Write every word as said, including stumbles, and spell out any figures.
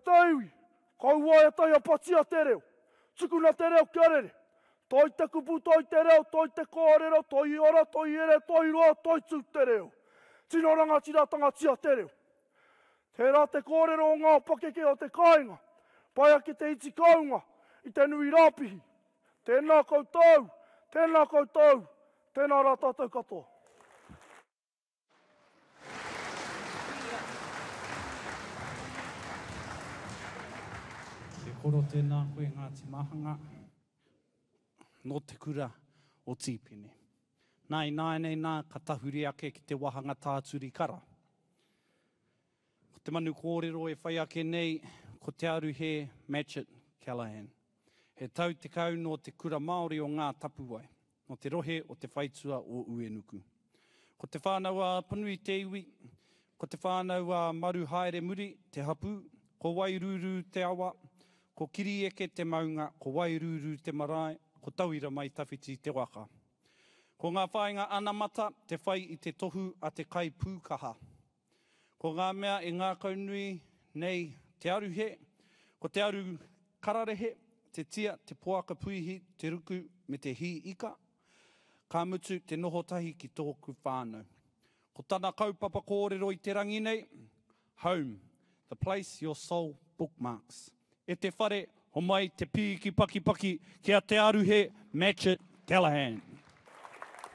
te iwi, kaua e taiapatia te reo. Tukuna te reo kia rere. Toi te kupu, toi te reo, toi te kōrero, toi ora, toi ere, toi roa, toi tū te reo. Tino rangatiratanga te reo. Tērā te kōrero o ngā pakeke o te kāinga, pai ake te iti kaunga i te nui rāpihi. Tēnā koutou, tēnā koutou, tēnā rā tātou katoa. E koro tēnā koe Ngāti Mahanga, nō te kura o Tīpene. Nā ināianei nā ka tahuri ake ki te wāhanga tāturi kara. Ko te manu kōrero e whai ake nei, ko Te Aruhe Matchitt Callaghan. He tau tekau nō te kura Māori o Ngā Tapuwae, nō te rohe o te whaitua o Uenuku. Ko te whānau a Apanui te iwi, ko te whānau a Maru Haere Muri te hapū, ko Wairūrū te awa, ko Kirieke te maunga, ko Wairūrū te marae, ko Tauira Mai Tawhiti te waka. Ko ngā whāinga anamata te whai i te tohu a te kai pūkaha. Ko ngā mea e ngākaunui nei te aruhe, ko te aru kararehe, te tia, te poaka puihi, te ruku me te hī ika, ka mutu te noho tahi ki tōku whānau. Ko tana kaupapa kōrero i te rangi nei, Home, the place your soul bookmarks. E te whare, homai te pīki pakipaki ki a Te Aruhe Matchitt Callaghan.